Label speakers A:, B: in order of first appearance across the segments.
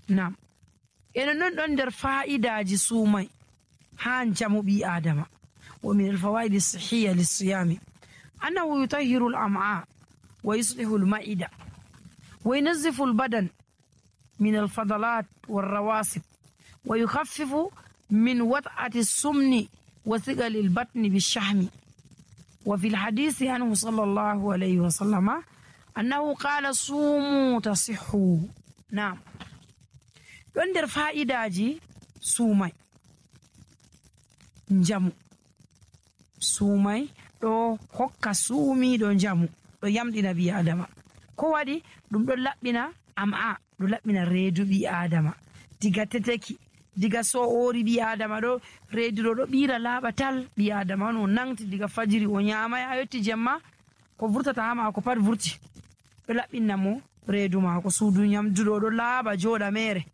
A: nam eno non ɗon nder fa'idaji suumay ha jamu ɓi adama. wa min alfawaidi sihiya lissiyami annahu yutahhiru al-am'a wa yuslihu al-ma'ida wa yunazzifu al-badan min al-fadalat wal-rawasib wa yukhaffifu min wat'ati as-sumni wa thiqali al-batni bish-shahmi. wa fi al-hadisi anhu sallallahu alayhi wa sallama annahu qala sumu tasihhu. Naam, ɗon nder fa'idaji suumay njamu. suumay ɗo hokka suumiɗo njamu, ɗo yamɗina ɓi adama. ko waɗi ɗum ɗon laɓɓina am'a, ɗo laɓɓina reedu ɓi adama diga teteki, diga so'ori ɓi adama ɗo reedu ɗo ɓira laaɓa tal. ɓi adama on o nangti diga fajiri o nyamay ha yetti jemma ko vurtata ha mako pat vurti, ɗo laɓɓinna mo reedu mako. suudu nyamduɗo ɗo laaɓa joɗa mere.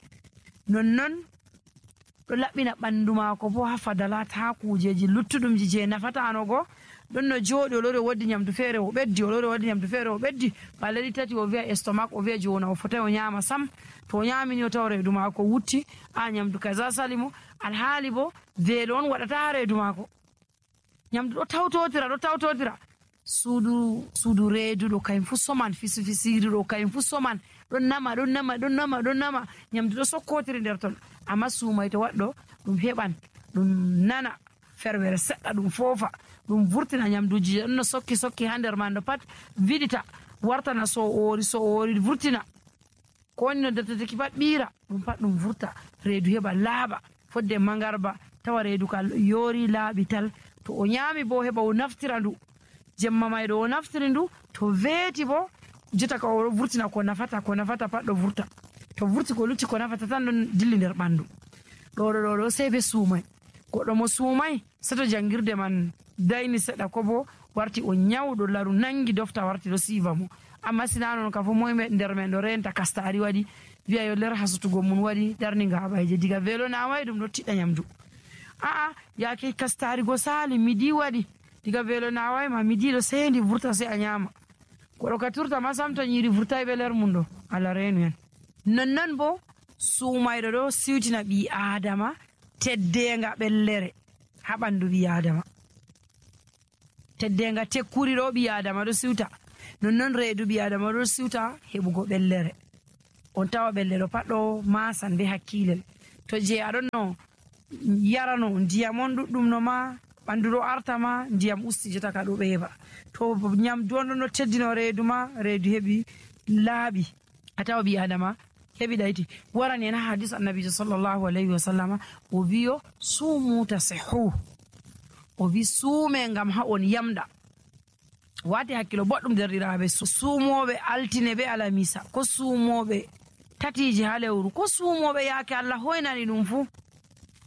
A: nonnon ɗo laɓɓina ɓandu mako bo ha fadalat, ha kujeji luttuɗumji je nafatanogo. ɗon no jooɗi o lori o waddi nyamdu feere o ɓeddi, o lori o waddi nyamdu feere o ɓeddi, balɗe tati o wi'a estomac, o wi'a jona o fotai o nyama sam. to o nyamini o tawa reedu mako wutti, a nyamdu kaza sali mo, alhaali bo veelo on waɗata ha reedu mako. nyamdu ɗo tawtotira. suudu reedu ɗo kayum fu soman, fisiri ɗo kayum fu soman, ɗon nama nyamdu ɗo sokkotiri nder ton. amma suumay to waɗɗo ɗum heɓan ɗum nana ferwere seɗɗa, ɗum foofa, ɗum vurtina nyamduji ɗon no sokki ha nder man ɗo pat viɗita, wartana so'ori vurtina, ko woni no defteteki pat ɓira ɗum pat ɗum vurta, reedu heɓa laaɓa fodde mangarba, tawa reedu ka yoori laaɓi tal. to o nyami bo heɓa o naftira ndu jemma mayɗo o naftiri ndu, to veeti bo jotta ka o vurtina ko nafata pat ɗo vurta. to vurti ko lutti ko nafata tan ɗon dilli nder ɓandu. ɗo sei be suumay. goɗɗo mo suumay seto jangirde man dayni seɗa, ko bo warti o nyawɗo laru nangi dofta warti ɗo siiva mo. amma sina non ka fo moye nder men ɗo renta kastari waɗi, wiya yo ler hasutugo mun waɗi darni ngaɓayje, diga velo naway ɗum ɗo tiɗɗa nyamdu. yake kastari go sali midi waɗi, diga velo naway ma midi ɗo sendi vurta sei a nyama. goɗɗo ka turta ma sam to nyiri vurtai be ler mum ɗo, Allah renu en. nonnon bo suumayɗo ɗo siwtina ɓi adama teddenga ɓellere ha ɓandu ɓi adama. teddenga tekkuri ɗo ɓi adama ɗo siwta, nonnon reedu ɓi adama ɗo siwta heɓugo ɓellere. on tawa ɓellere pat ɗo masan be hakkilel. to je aɗon no yarano ndiyam on ɗuɗɗum no ma ɓandu ɗo artama, ndiyam usti jotta ka ɗo ɓeeɓa. to nyamdu on ɗon no teddino reedu ma, reedu heɓi laaɓi, a tawa ɓi adama heɓi ɗayti. warani en ha hadis annabijo sallllahu alayhi wa sallama o wiyo sumu tasihhu, o wi suume ngam ha on yamɗa. wati hakkilo boɗɗum derɗiraɓe, suumoɓe altine be alamisa, ko suumoɓe tatiji ha lewru, ko suumoɓe yaake Allah hoynani ɗum fu,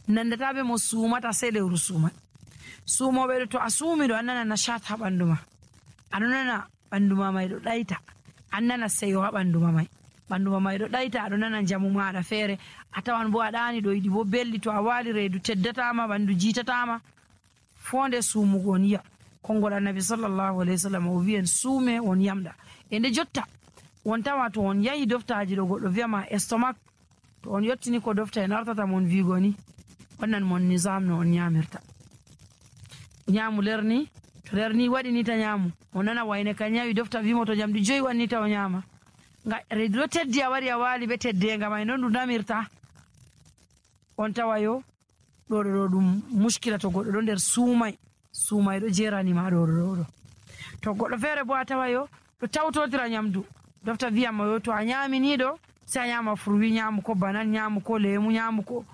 A: nandataɓe mo suumata sei lewru suumai. suumoɓe ɗo to a suumiɗo an nana nashat ha ɓandu ma, aɗo nana ɓandu ma may ɗo ɗayta, an nana seyo ha ɓandu ma may, ɓandu ma may ɗo ɗayta, aɗo nana jamu maɗa feere. a tawan bo a ɗani ɗo yiɗi bo belli, to a wali reedu teddatama, ɓandu jiitatama, fonde suumugo on yiya. konngol annabi sallllahu alayhi wa sallam o wiyen suume on yamɗa. e nde jotta on tawa to on yahi doftaji ɗo goɗɗo wiyama estomac, to on yettini ko dofta en artata mon wigo ni wannan mon nisam no on nyamirta. nyamu lerni, to lerni waɗi ni ta nyamu, o nana wayne ka nyawi dofta wimo to jamdi 5 wanni ta o nyama. reedu ɗo teddi a wari a wali be teddenga may non ɗum namirta. on tawa yo ɗo ɗum muskila to goɗɗo ɗo nder suumay ɗo jeranima ɗo. to goɗɗo feere bo a tawa yo ɗo tawtotira nyamdu, dofta wiyama yo to a nyamini ɗo sai a nyama fruwi, nyamu ko banan, nyamu ko lemu, nyamu ko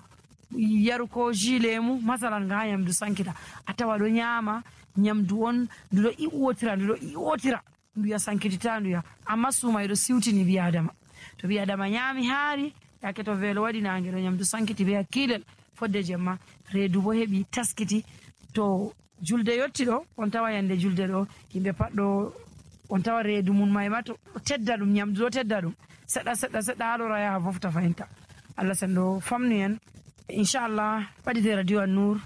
A: yaru ko jus lemu masalan ga nyamdu sankita. a tawa ɗo nyama nyamdu on ndu ɗo iwotira ndu ya sankitita ndu ya, amma suumay ɗo siwtini ɓi adama. to ɓi adama nyami haari, yake to velo waɗi nange ɗo nyamdu sankiti be hakkilel, fodde jemma reedu bo heɓi taskiti. to julde yotti ɗo, on tawa yande julde ɗo yimɓe pat ɗo, on tawa reedu mum may ma to tedda ɗum, nyamdu ɗo tedda ɗum seɗɗa haɗora yaha fofta fayinta. Allah sendo famnu en inchallah. ɓaɗite radio an nour,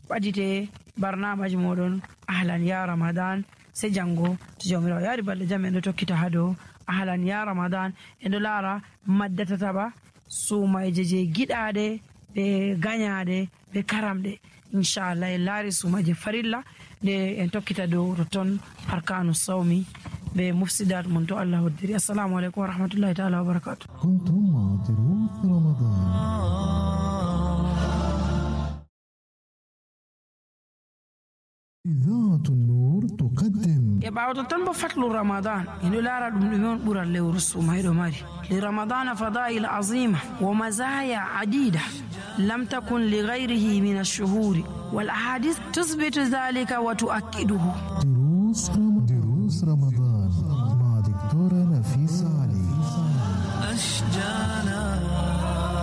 A: ɓaɗite barnamaji moɗon ahlan ya ramadan. sai jango to jawmirawo yaari balɗe jam en ɗo tokkita ha dow ahlan ya ramadan. en ɗo laara maddatataɓa suumayje je giɗaɗe ɓe gañaɗe ɓe karamɗe inchallah en laari suumayje farilla nde en tokkita dow toton arkanu sawmi ɓe mufsidat mum to Allah hoddiri. Assalamu aleykum wa rahmatullahi taala wa barakatuh.
B: كنتم مع دروس رمضان. إذاعة النور تقدم
A: ɓawto tan bo fatlu ramadan ino laara ɗum ɗume on ɓural lewru sumayɗo mari li ramadana fadail azima wa mazaya adida lam takun li gayrihi min alshuhuri wal ahadith tusbitu dhalika wa tuakkiduhu.
B: دروس رمضان مع دكتورة نفيسة علي. أشجانا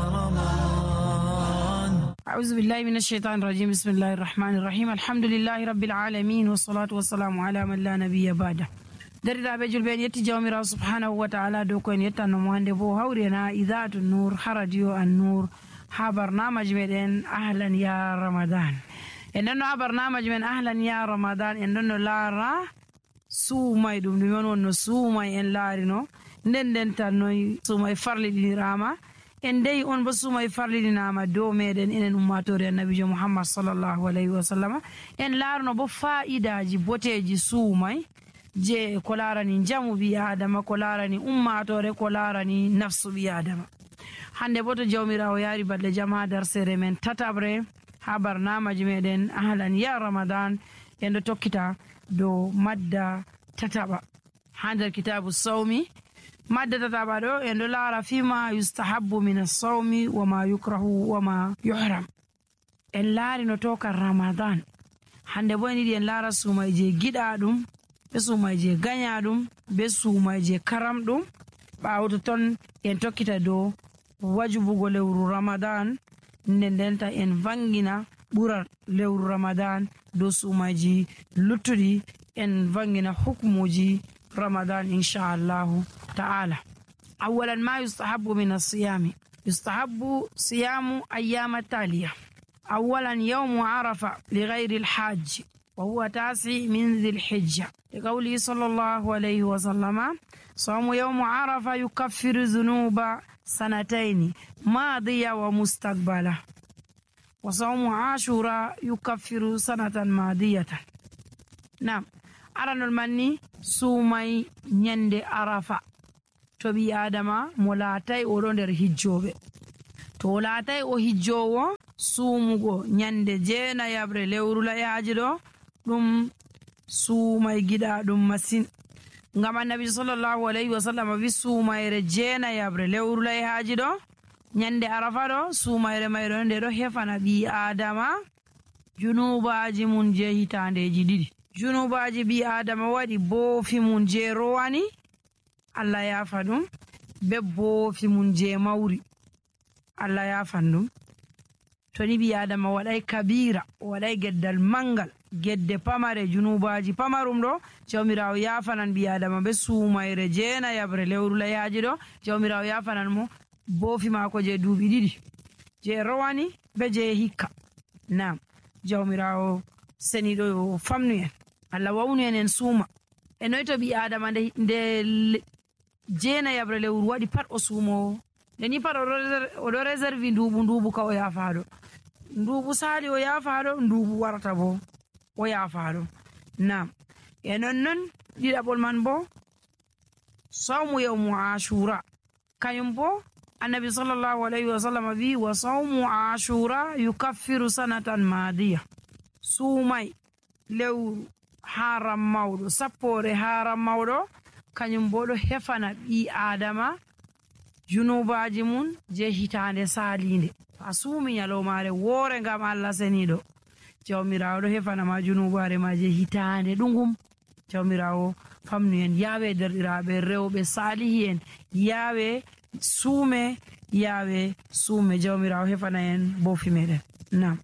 B: رمضان.
A: أعوذ بالله من الشيطان الرجيم. بسم الله الرحمن الرحيم. الحمد لله رب العالمين والصلاة والسلام على من لا نبي بعده. derɗiraɓe julɓe en yetti jawmirawo subhanahu wa taala dow ko en yettannomo hannde bo hawrena idaatu nour ha radio an nour ha barnamaji meɗen ahlan ya ramadan. en ɗonno ha barnamaji men ahlan ya ramadan en ɗonno laara suumay ɗum ɗume on wonno suumay en laarino nden tan noy suumay farliɗinirama en deyi on bo suumay farliɗinama dow meɗen enen ummatore annabijo mouhammad sallllahu alayhi wa sallam. en laarno bo fa'idaji boteji suumay je ko larani jamu ɓi adama, ko larani ummatore, ko larani nafsu ɓi adama. hande bo to jawmirawo yaari balɗe jam ha darsere men tatabre ha barnamaji meɗen ahlan ya ramadan en ɗo tokkita dow madda tataɓa ha nder kitabu sawmi. madda tataɓa ɗo en ɗo laara fima yustahabbu min assawmi wama yukrahu wama yuhram. en laari no tokan ramadan hande bo en yiɗi en laara suumay je giɗa ɗum be suumay je gaña ɗum be suumay je karam ɗum. ɓawto ton en tokkita dow wajubugo lewru ramadan ndendenta en vangina ɓural lewru ramadan dow suumayji luttuɗi en vangina hukmuji ramadan inchallahu ta'ala. awalan ma yustahabbu min asiyami yustahabbu siyamu ayyama taliya. awalan yawmu arafa ligayri alhajji وهو 9 من ذي الحجة لقوله صلى الله عليه وسلم صوم يوم عرفة يكفر ذنوب 2 ماضية ومستقبلة وصوم عاشوراء يكفر 1 ماضية. نعم أرانو المني سومي نيند عرفة توبي آدم مولاتي ورندر هجوبة تولاتي او هجوو سومغو نيند جينا يابر لورula yajido ɗum suumay giɗa ɗum masin ngam annabi sallllahu alayhi wa sallam wi suumayre jeenayabre lewru layhaji ɗo ñande arafa ɗo suumayre mayɗo nde ɗo hefana ɓi adama junubaji mum je hitandeji 2. junubaji ɓi adama waɗi boofi mum je rowani allah yafa ɗum be boofi mum je mawri allah yafan ɗum. to ni ɓi adama waɗay kabira waɗay geddal mangal gedde pamare junubaji pamarum ɗo jawmirawo yafanan ɓi adama be suumayre jeenayabre lewru layhaji ɗo jawmirawo yafanan mo boofi mako je duuɓi 2 je rowani be je hikka. nam jawmirawo seniɗo yo famnu en allah wawnu en suuma e noy to ɓi adama nde jeenayabre lewru waɗi pat o suumowo ndeni pat oɗo réserve nduɓu ka o yafaɗo nduɓu sali o yafaɗo nduɓu warata bo o yafaɗo. nam e nonnon ɗiɗaɓol man bo sawmu yawmu ashura kañum bo annabi sallllahu alayhi wa sallam wi wa sawmu ashura yukaffiru 1 madiya. suumay lewru haram mawɗo sappore haram mawɗo kañum bo ɗo hefana ɓi adama junubaji mum je hitande salinde. a suumi nyalomare woore ngam allah seniɗo jawmirawo ɗo hefanama junubare ma je hitande ɗugum. jawmirawo famnu en yawe derɗiraɓe rewɓe salihi en yawe suume jawmirawo hefana en bofi meɗen. nam